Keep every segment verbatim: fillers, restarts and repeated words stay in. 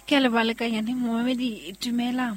Ke a leboha momamedi, dumela.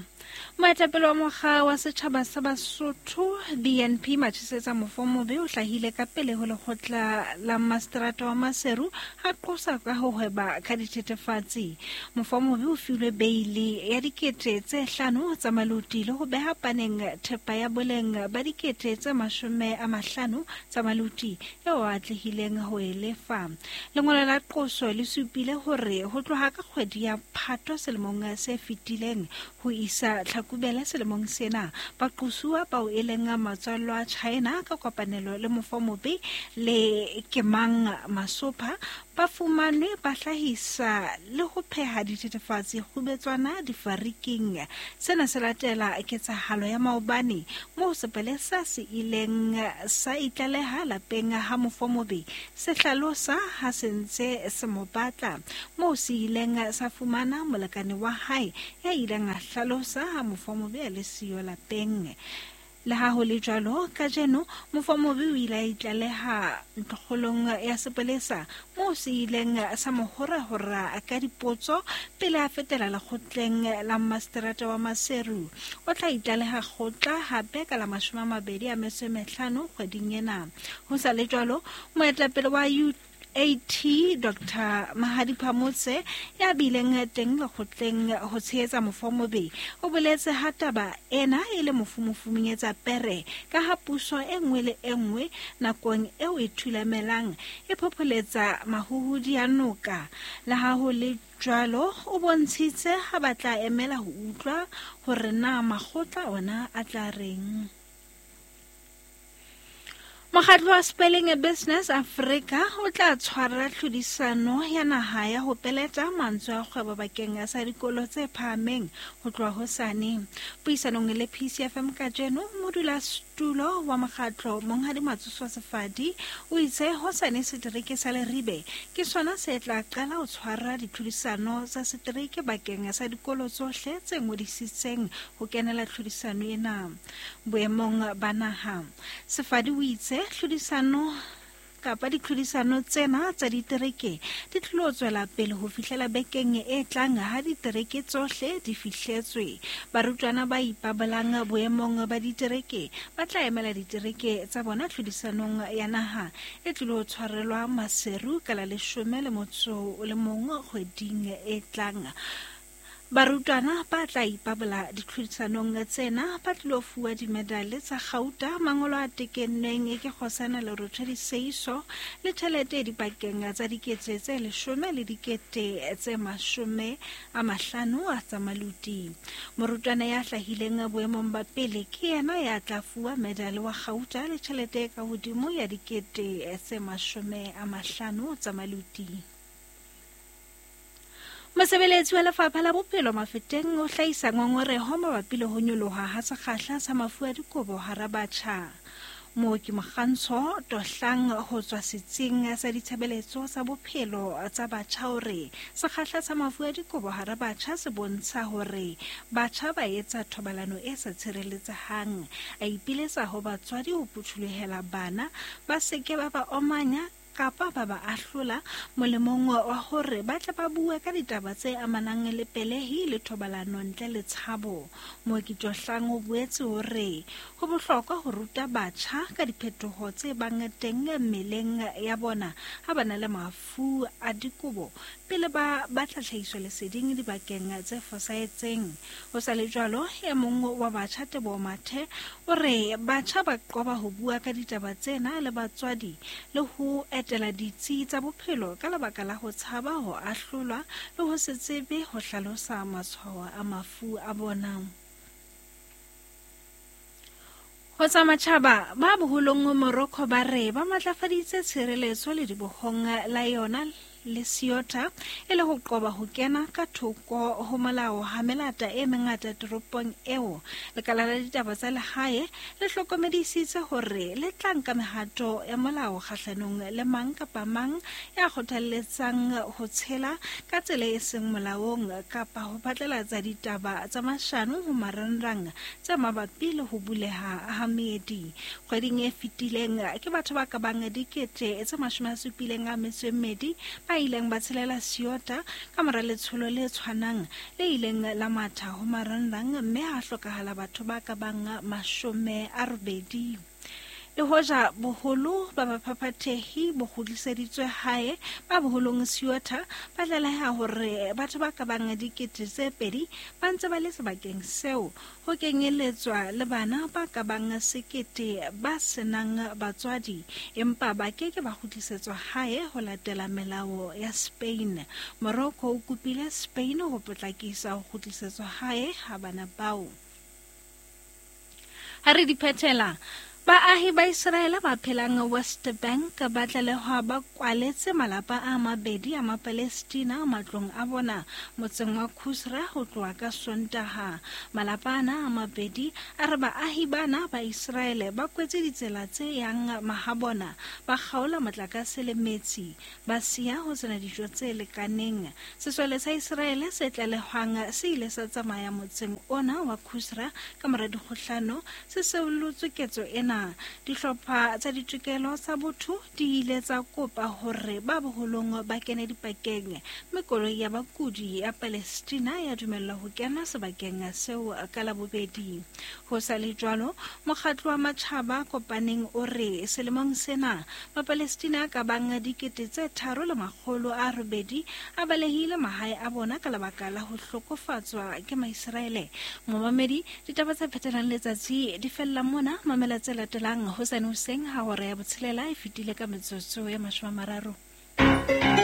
Moetapele wa mokga wa setjhaba sa Basotho B N P Machesetsa Mofomobe o hlahile ka pele ho lekgotla la mastrata wa Maseru a qosa ka ho hweba ka dithethefatsi. Mofomobe o filwe beili ya dikete tse hlano tsa maluti le ho beha paneng thepa ya boleng ba dikete tse mashome a mahlano tsa maluti eo a atlehileng ho e lefa. Lengolo la qoso le supile hore ho tloha ka kgwedi ya Phato selemong se fetileng ho isa Tlhakubele selemong sena, baqosuwa bao e leng matswallo a China ka kopanelo le Mofomobe le Kemang Masopha ba fumanwe ba hlahisa le ho pheha dithethefatsi kgubetswana difariking. Sena se latela ketsahalo ya maobane moo sepolesa se ileng sa itlaleha lapeng ha Mofomobe se hlalosa ha se ntse se mo batla, moo se ileng sa fumana molekane wa hae ya ileng a hlalosa ha Mofomobe a le siyo lapeng. Le ha ho le jwalo, kajeno Mofomobe o ile a itlaleha ntlokgolong ya sepolesa moo se ileng sa mo horahora ka dipotso pele a fetela lekgotleng la mastrata wa Maseru. O tla itlaleha kgotla hape ka la mashome a mabedi a metso e mehlano kgweding ena. Ho sa le jwalo, moetapele wa U A T Doctor Mahadi Phamotse ya bileng teng lekgotleng ho tshehetsa Mofomobe o boletse ha taba ena e le mofumofuminyetsa pere ka ha puso e nngwe le e nngwe nakong eo e thulamelang e phopholetsa mahuhudi a noka. Le ha ho le jwalo, o bontshitse ha ba tla emela ho utlwa hore na makgotla ona a tla reng. Mokgatlo wa Spelling Business Africa o tla tshwara tlhodisano ya naha ya ho peleta mantswe a kgwebo bakeng sa dikolo tse phahameng ho tloha hosane. Puisanong le P C F M kajeno, modulasetulo wa mokgatlo Monghadi Matsoso Sefadi o itse hosane setereke sa Leribe ke sona se tla qala ho tshwara ditlhodisano tsa setereke bakeng sa dikolo tsohle tse ngodisitseng ho kenela tlhodisano ena boemong ba naha. Sefadi o itse tlhodisano kapa ditlhodisano tsena tsa ditereke di tlilo tswela pele ho fihlela bekeng e tlang ha ditereke tsohle di fihletswe. Barutwana ba ipabolang boemong ba ditereke ba tla emela ditereke tsa bona tlhodisanong ya naha e tlilo tshwarelwa Maseru ka la leshome le motso o le mong kgweding e tlang. Barutwana ba tla ipabola ditlhodisanong tsena ba tlilo fuwa dimedale tsa kgauta, mangolo a tekennweng ke kgosana Lerotho Diseiso le tjhelete dipakeng tsa dikete tse leshome le dikete tse mashome a mahlano a tsa maluti. Morutwana ya hlahileng boemong ba pele ke yena ya tla fuwa medale wa kgauta le tjhelete ka hodimo ya dikete tse mashome a mahlano tsa maluti. Mosebeletsi wa lefapha la bophelo Mafeteng o hlahisa ngongoreho mabapi le ho nyoloha ha sekgahla sa mafu a dikobo hara batjha. Mooki Mokgantsho Tohlang ho tswa setsing sa ditshebeletso tsa bophelo tsa batjha o re sekgahla sa mafu a dikobo hara batjha se bontsha hore batjha ba etsa thobalano e sa tshireletsehang. A ipiletsa ho batswadi ho phuthulohela bana ba seke ba ba omanya kapa ba ba ahlola molemong wa hore ba tle ba bue ka ditaba tse amanang le pelehi le thobalano ntle le tshabo. Mooki Tohlang o boetse hore ho bohlokwa ho ruta batjha ka diphetoho tse bang teng mmeleng ya bona ha ba na le mafu a dikobo pele ba batla tlhahiso leseding dibakeng tse fosahetseng. Ho sa le jwalo, e mong wa batjha Teboho Mathe o re batjha ba qoba ho bua ka ditaba tsena le batswadi le ho etela ditsi tsa bophelo ka lebaka la ho tshaba ho ahlolwa le ho se tsebe ho hlalosa matshwao a mafu a bona. Ho tsa matjhaba, ba boholong Morocco ba re ba matlafaditse tshireletso le dibohong la yona le Ceuta e le ho qoba ho kena ka thoko ho molao ha melata e mengata toropong eo. Lekala la ditaba tsa lehae le hlokomedisitse hore le tla nka mehato ya molao kgahlanong le mang kapa mang ya kgothalletsang ho tshela ka tsela e seng molaong kapa ho phatlalatsa ditaba tsa mashano ho marangrang tse mabapi le ho buleha ha meedi. Kgweding e fetileng ke batho ba ka bang dikete tse mashome a supileng a metso e mmedi ba ba ileng ba tshelela Ceuta ka mora letsholo le tshwanang le ileng la matha ho marangrang mme ha hlokahala batho ba ka bang mashome a robedi. Le hoja boholo ba baphaphathehi bo kgutliseditswe hae ba boholong Ceuta ba tlaleha hore batho ba ka bang dikete tse pedi ba ntse ba le sebakeng seo, ho kenyeletswa le bana ba ka bang sekete ba senang batswadi, empa ba ke ke ba kgutlisetswa hae ho latela melao ya Spain. Morocco o kopile Spain ho potlakisa ho kgutlisetswa hae ha bana bao. Ha re di phethela, baahi ba Israele ba phelang West Bank ba tlalehwa ba kwaletse malapa a mabedi a Mapalestina matlong a bona motseng wa Kusra ho tloha ka Sontaha. Malapa ana a mabedi a re baahi bana ba Israele ba kwetse ditsela tse yang mahabona, ba kgaola motlakase le metsi, ba siya ho sena dijo tse lekaneng. Sesole sa Israele se tlalehwang se ile sa tsamaya motseng ona wa Kusra ka mora dikgohlano, se seolotswe ketso ena. Dihlopha tsa ditokelo tsa botho di ile tsa kopa hore ba boholong ba kene dipakeng, mme koloi ya bakudi ya Palestina ya dumellwa ho kena sebakeng seo ka Labobedi. Ho sa le jwalo, mokgatlo wa matjhaba a kopaneng o re selemong sena Mapalestina ka bang dikete tse tharo le makgolo a robedi a balehile mahae a bona ka lebaka la ho hlokofatswa ke Maiseraele. Momamedi, ditaba tse phetelang letsatsi di fella mona. Mamela tse latelang hosane hoseng ha hora ya botshelela e fetile ka metsotso ya mashome a mararo.